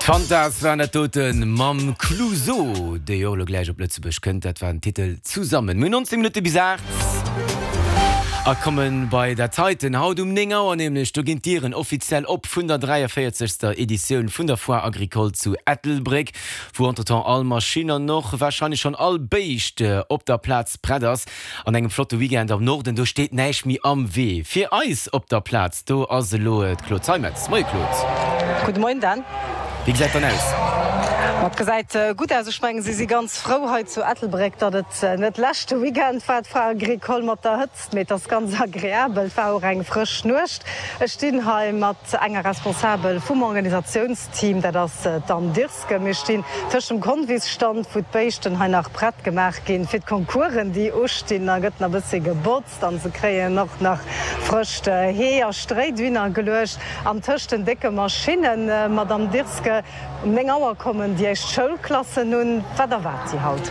D'Fantas waren dat doten mam Clouseau, dee jo och elo gläich op Lëtzebuerg kënnt. Dat war den Titel Zusammen. Mir hunn 19 Minutte bis 8 a komme bei dat heiten. Haut um 9 Auer nämlech, do ginn d'Dieren offiziell op vun der 43. Editioun vun der Foire Agricole zu Ettelbréck, wou entretemps all Maschinn an och warscheinlech schonn all Béischt op der Plaz prett ass. An engem flotte Weekend am Norden, do steet näischt méi am Wee. Fir eis op der Plaz, do ass elo d'Claude Zeimetz. Moie Claude. Gudde Moien Dan. Wéi gesäit dann aus? Ma et gesäit gutt aus. Ech mengen, si si ganz frou hei zu Ettelbréck, datt et net leschte Weekend war, d'Foire Agricole mat der Hëtzt, mee et ass ganz agreabel. Et war och eng frësch Nuecht. Ech stinn hei mat enger Responsabel vum Organisationsteam, dat ass d'Anne Dirks. Mir stinn tëscht dem Convisstand, wou d'Béischten hei nach prett gemaach ginn fir d'Concoursen, déi ustinn. Da gëtt nach e bëssi gebotzt an se kréien och nach frëscht Hee a Stréi dohinner geluecht. An tëscht den décke Maschinnen, Madamm Dirske, um 9 Auer kommen déi éischt Schoulklassen un. Wat erwaart si haut?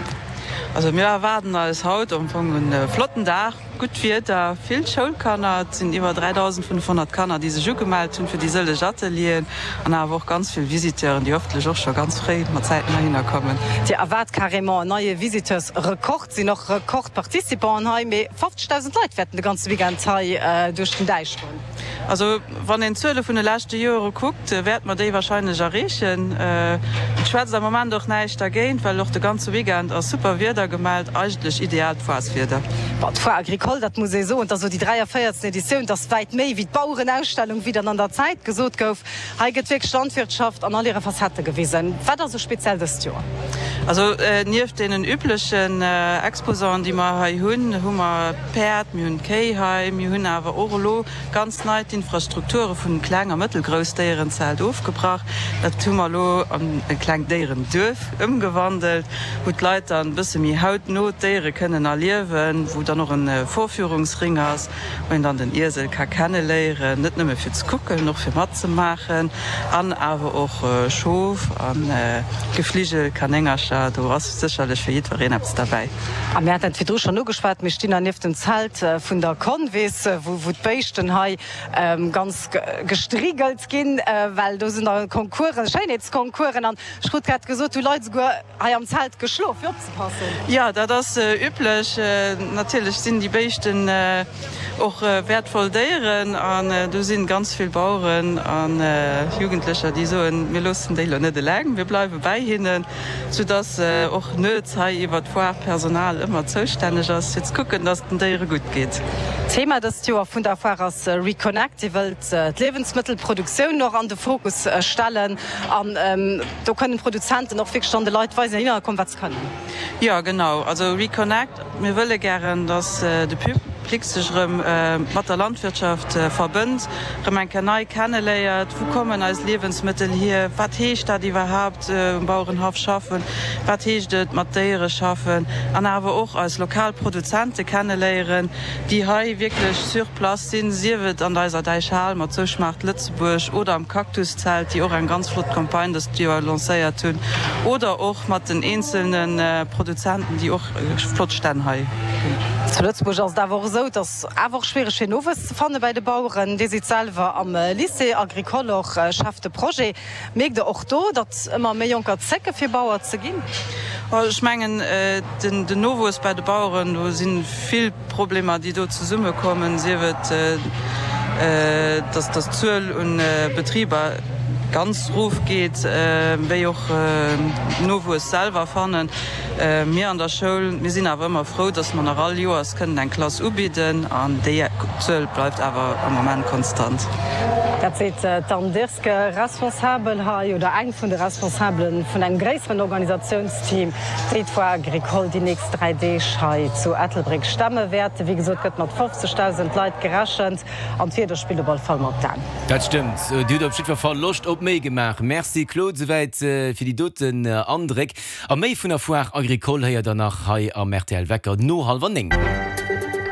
Also mir erwaarden eis haut am Fong e flotten Dag. Gutt Wieder, vill Schoulkanner, et sinn iwwer 3.500 Kanner, déi sech ugemellt hunn fir déi sëlleg Atelieren an awer och ganz vill Visiteuren, déi hoffentlech och scho ganz fréi mat Zäiten heihinner kommen. Dir erwaart carrément en neie Visiteursrekord, sinn och Rekordparticipanten hei, mee 50.000 Leit wäerten de ganze Weekend hei duerch den Däich goen. Also wann een d'Zuele vun de leschte Joere kuckt, wäerte mer déi wahrscheinlech erreechen. Et schwätzt am Moment och näischt dergéint, well och de ganze Weekend ass super Wieder gemellt, eigentlech ideaalt Foireswieder. Bon, d'Foire Agricole, dat muss ee soen, et ass elo déi 43. Editioun, et ass wäit méi wéi d'Bauerenausstellung, wéi dann an der Zäit gesot gouf. Hei gëtt wierklech d'Landwirtschaft an all hire Facettë gewisen. Wat ass esou speziell dëst Joer? Also nieft deenen üblechen Exposanten, déi mer hei hunn, hu mer d'Päerd, mir hunn d'Kéi hei, mir hunn awer och elo ganz nei d'Infrastrukture vun Kleng a Mëttelgroussdéierenzelt ofgebrach. Dat hu mer elo an e klengt Déierenduerf ëmgewandelt, wou d'Leit dann e bësse méi hautno d'Déiere kënnen erliewen, wou dann och e Vorführungsring ass, wou een dann den Iesel ka kenneléieren, net nëmme fir ze kucken, och fir matzemaachen, an awer och Schof a Gefligel, Kanéngercher, do ass sécherlech fir jiddwereen eppes derbäi. A mir haten et virdru schonn ugeschwat, mir stinn hei nieft dem Zelt vun der Convis, wou d'Béischten hei ganz gestrigelt ginn, well do sinn da Concoursen, Schéinheetsconcoursen. An ech krut grad gesot, hu Leit esouguer hei am Zelt geschlof, fir opzepassen. Jo, dat ass üblech. Natierlech sinn déi Béischten och wäertvoll Déieren an do si ganz vill Baueren a Jugendlecher, déi soen, mir loossen déi elo net eleng, mir bleiwe bäi hinnen. Sou dass och nuets hei iwwer d'Foire d'Personal ëmmer zoustänneg ass fir ze kucken, dass et den Déiere gutt geet. D'Thema dëst Joer vun der Foire ass Reconnect. Dir wëllt d'Liewensmëttelproduktioun och an de Fokus stellen an do kënnen d'Produzenten och wierklech dann de Leit weisen, déi heihinner kommen, wat se kënnen. Jo genau, also Reconnect, mir wëlle gären, dass de Public sech erëm mat der Landwirtschaft verbënnt, erëm eng Kéier nei kenneléiert, wou kommen eis Liewensmëttel hier, wat heescht dat iwwerhaapt um Bauerenhaff schaffen, wat heescht et mat Déiere schaffen an awer och eis lokal Produzente kenneléieren, déi hei wierklech sur place sinn, sief et an eiser Däichhal mat Sou schmaacht Lëtzebuerg oder am Cactuszelt, déi och eng ganz flott Campagne dëst Joer lancéiert hunn, oder och mat den eenzelne Produzenten, déi och flott Stänn hei hunn. Zu Lëtzebuerg ass et awer och esou, et ass awer och schwiereg fir Nowuess ze fanne bäi de Baueren. Dir sidd selwer am Lycée agricole och Chef de projet. Mierkt Der och do, datt ëmmer méi Jonker zécke fir Bauer ze ginn? Ech mengen, den Nowuess bei de Baueren, do si vill Problemer, déi do zesummekommen, sief et, datt d'Zuel un Betriber ganz erofgeet, wéi och Nowuess selwer fannen. Mir an der Schoul, mir sinn awer ëmmer frou, dass mer nach all Joers kënnen eng Klass ubidden an déi Zuel bleift awer am Moment konstant. Dat seet d'Anne Dirske, Responsabel hei oder eng vun de Responsabele vun engem gréisseren Organisatiounsteam, déi d'Foire Agricole déi nächst 3 Deeg hei zu Ettelbréck stemme wäerten. Wéi gesot gëtt mat 50.000 Leit gerechent an d'Wieder spillt op alle Fall mat d'An. Dat stëmmt, Dir hutt op jiddwer Fall Loscht op méi gemaach. Merci Claude, souwäit fir déi doten Andréck. A méi vun der Foire Agricole héiert der nach hei am rtl Wecker no hallwer 9.